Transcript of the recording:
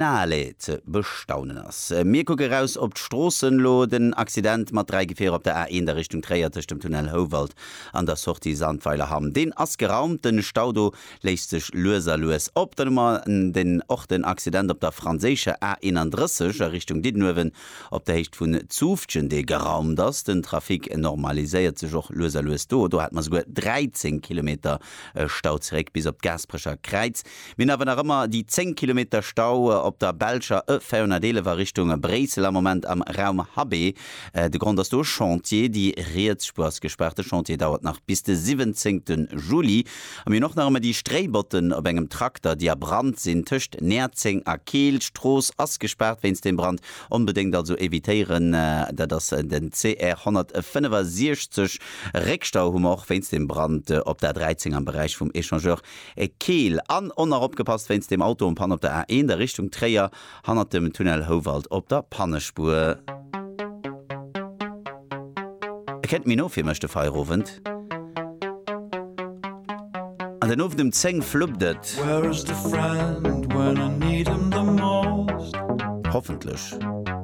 Finale ze bestaunen ass. Mir kucke raus op d'Stroossen elo. Den Accident mat 3 Gefierer op der A1 a Richtung Tréier tëscht dem Tunnel Houwald an der Sortie Sandweilerhamm, deen ass geraumt. Den Stau do léist sech lues a lues op. Dann hu mer den och den Accident op der franséischer A31 a Richtung Diddenuewen op der Héicht vun Zufftgen, dee geraumt ass. Den Trafic normaliséiert sech och lues a lues do. Do hate mer souguer 13 Kilometer Stau zeréck bis op d'Gaasperecher Kräiz. Mir hunn awer nach ëmmer déi 10 Kilometer Stau op der belscher E 411 a Richtung Bréissel am Moment am Raum Habé. De Grond ass do e Chantier. Déi riets Spuer ass gespaart. De Chantier dauert nach bis de 17 Juli. A mir hunn och nach ëmmer déi Stréibotten op engem Trakter, déi a Brand sinn tëscht Näerzeng a Keel. D'Strooss ass gespaart wéinst deem Brand. Onbedéngt also evitéieren. Dat ass den CR 165. Réckstau hu mer och wéinst dem Brand op der 13 am Beräich vum Echangeur Keel. An och nach opgepasst wéinst dem Auto en panne op der A1 a Richtung Tréier, hannert dem Tunnel Houwald op der Pannespuer. E kennt méi no fir mech, de Feierowend. An den Owend um 10 fluppt et. Hoffentlech.